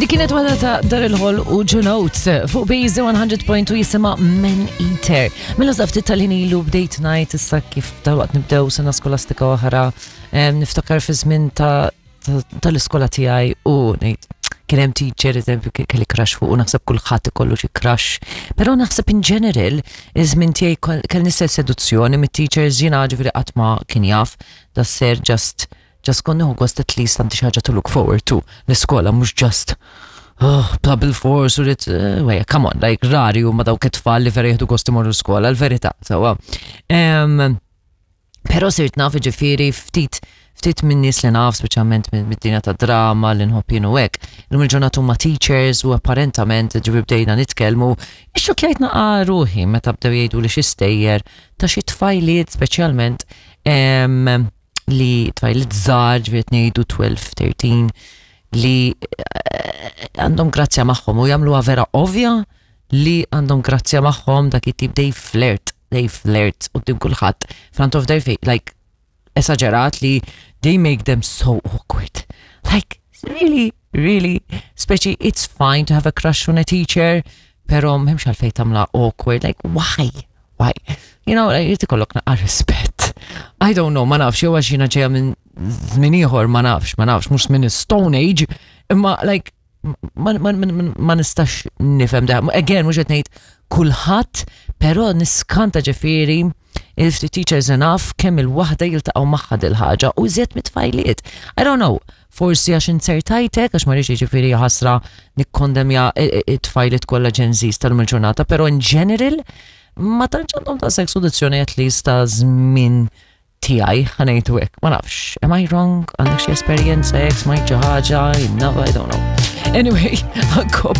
Dik kienet waħda ta' Daryl Hall u John Oates fuq Base 100.2 jisimha Man Eater. Mela sa ftit tal-ħin ilu bdejt ngħid issa kif dalwaqt nibdew sena skolastika oħra, niftakar fi żmien ta' tal-iskola tiegħi u ngħid kien hemm teacher eżempju kelli crush fuq u naħseb kulħadd ikollu xi crush. Però naħseb in general iż-żmien tiegħi kelli istess seduzzjoni mit-teachers, jiena ġifieri qatt ma kien jaf da ser just kont nieħu gost, at least għandi xi ħaġa to look forward to l-iskola, mhux just, oh, bla bil-fors u rrid, eh, come on, like rari huma dawk it-tfal li vera jieħdu gost imorru l-iskola, l-verità, sewwa. Però sirt naf, ġifieri ftit ftit minn nies li naf, speċjalment mid-dinja ta' drama li nħobb jien u hekk. Illum il-ġurnata huma teachers u apparentament, ġifieri bdejna nitkellmu, ixxokkjajt naqa' ruħi meta bdew jgħidu li xi stejjer ta' xi tfajliet, speċjalment li tfajliet żgħar, ġifieri ngħidu 12, 13, li għandhom grazzja magħhom u jagħmluha vera ovvja li għandhom grazzja magħhom, dak it-tip they flirt, they flirt quddiem kulħadd front of their face, like esaġerat li they make them so awkward. Like, really, really, speċi it's fine to have a crush on a teacher, pero m'hemmx għalfejn tagħmla awkward, like why? Why? Like, jrid ikollok naqra rispett. I don't know, ma nafx, jew għax jiena ġejja minn żmien ieħor, ma nafx, ma nafx, mhux minn Stone Age, imma like ma nistax nifhem da. Again, mhux qed ngħid kulħadd, però niskanta ġifieri il-ftit teachers enough kemm il-waħda jiltaqgħu magħha dil-ħaġa u iżjed mit-tfajliet. I don't know, forsi għax inzertajtek, għax ma rridx ġifieri ħasra nikkondemja it-tfajliet kollha Gen Zs tal-lum il-ġurnata, però in general ma tantx għandhom ta' seduzzjoni, at least ta' żmien tiegħi, ħa ngħidu hekk, ma nafx, am I wrong? Għandek xi esperjenza hekk, smajt xi ħaġa, I don't know. Anyway, għankob.